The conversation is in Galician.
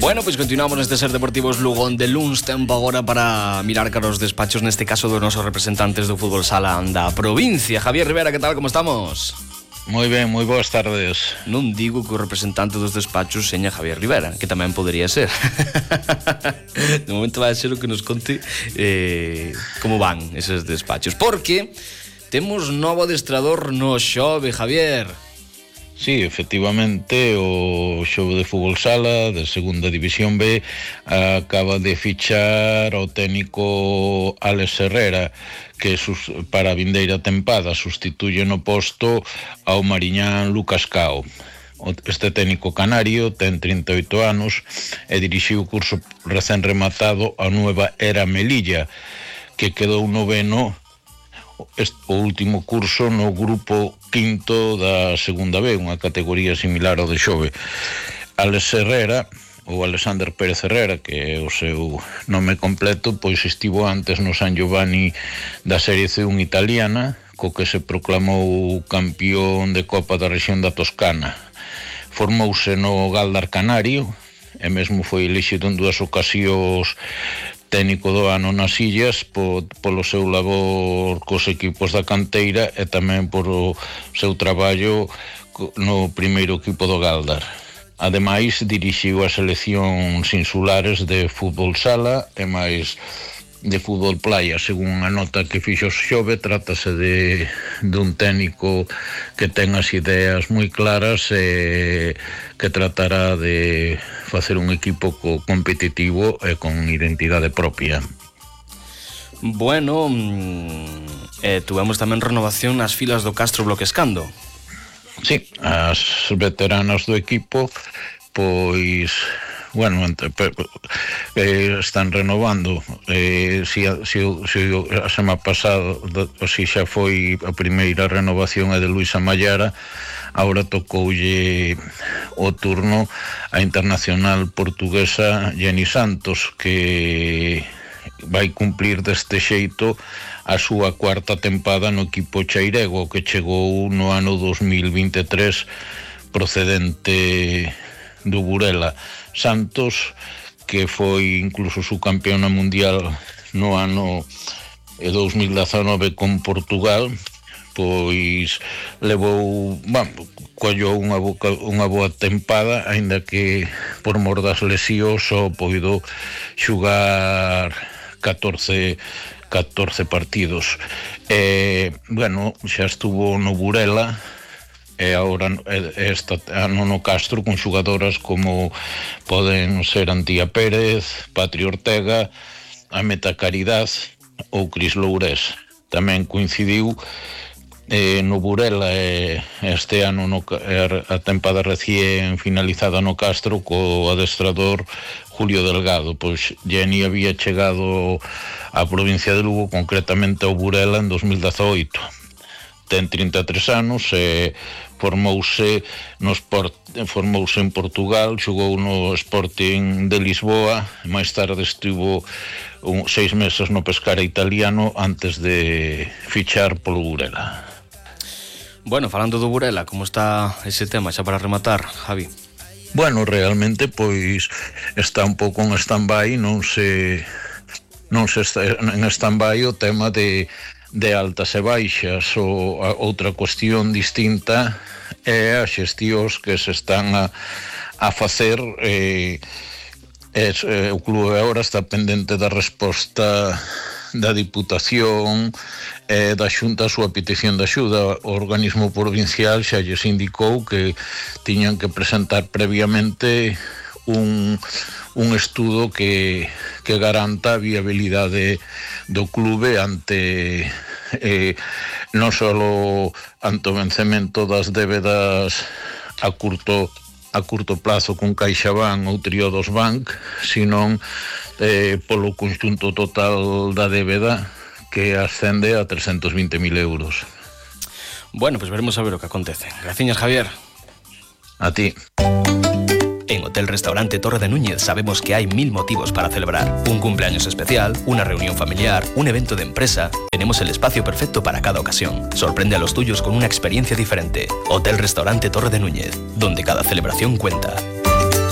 Bueno, pois continuamos neste Ser Deportivos Lugo de Luns. Tempo agora para mirar cara os despachos, neste caso dos nosos representantes do fútbol sala da provincia. Javier Rivera, que tal, como estamos? Moi ben, moi boas tardes. Non digo que o representante dos despachos seña Javier Rivera, que tamén podería ser. De momento vai ser o que nos conte como van eses despachos, porque temos novo adestrador no Xove, Javier. Sí, efectivamente, o Xove de fútbol sala de segunda división B acaba de fichar ao técnico Alex Herrera, que para a vindeira tempada sustituye no posto ao mariñán Lucas Cao. Este técnico canario ten 38 anos e dirixiu o curso recén rematado a Nueva Era Melilla, que quedou noveno o último curso no grupo quinto da segunda B, unha categoría similar ao de Xove. Alex Herrera, ou Alexander Pérez Herrera, que é o seu nome completo, pois estivo antes no San Giovanni da Serie C1 italiana, co que se proclamou campeón de Copa da rexión da Toscana. Formouse no Galdar Canario e mesmo foi elixido en 2 ocasións técnico do ano nas Illas polo seu labor cos equipos da canteira e tamén por o seu traballo no primeiro equipo do Galdar. Ademais, dirixiu as seleccións insulares de fútbol sala e máis de fútbol playa. Según a nota que fixo Xove, trátase dun técnico que ten as ideas moi claras e que tratará de facer un equipo competitivo e con identidade propia. Bueno, tuvemos tamén renovación nas filas do Castro Bloquescando. Sí, as veteranas do equipo, pois, bueno, están renovando. Si a semana pasada, si xa foi a primeira renovación de Luisa Mallara, agora tocoulle o turno a internacional portuguesa Jenny Santos, que vai cumplir deste xeito a súa cuarta tempada no equipo chairego, que chegou no ano 2023 procedente do Burela. Santos, que foi incluso subcampeona mundial no ano 2019 con Portugal, pois levou, collou unha boa tempada, aínda que por mor das lesións só poido xugar 14 partidos. Bueno, xa estuvo no Burela e agora este ano no Castro con xugadoras como poden ser Antía Pérez, Patri Ortega, Ameta Caridad ou Cris Lourés. Tamén coincidiu no Burela este ano a tempada recién finalizada no Castro co adestrador Julio Delgado. Pois Jenny había chegado á provincia de Lugo, concretamente ao Burela, en 2018. Ten 33 anos e formouse en Portugal, xogou no Sporting de Lisboa, máis tarde estivo 6 meses no Pescara italiano antes de fichar polo Burela. Bueno, falando do Burela, como está ese tema xa para rematar, Javi? Bueno, realmente pois está un pouco en stand-by, non se está en stand-by o tema de altas e baixas. Outra cuestión distinta é as xestións que se están a facer. O clube agora está pendente da resposta da Diputación e da Xunta a súa petición de axuda. O organismo provincial xa lles indicou que tiñan que presentar previamente un estudo que garanta a viabilidade do clube ante non só ante o vencemento das débedas a curto plazo con CaixaBank ou Triodos Bank, senón polo conxunto total da débeda, que ascende a 320.000 euros. Bueno, pues veremos a ver o que acontece. Graciñas, Javier. A ti. En Hotel Restaurante Torre de Núñez sabemos que hay 1000 motivos para celebrar. Un cumpleaños especial, una reunión familiar, un evento de empresa. Tenemos el espacio perfecto para cada ocasión. Sorprende a los tuyos con una experiencia diferente. Hotel Restaurante Torre de Núñez, donde cada celebración cuenta.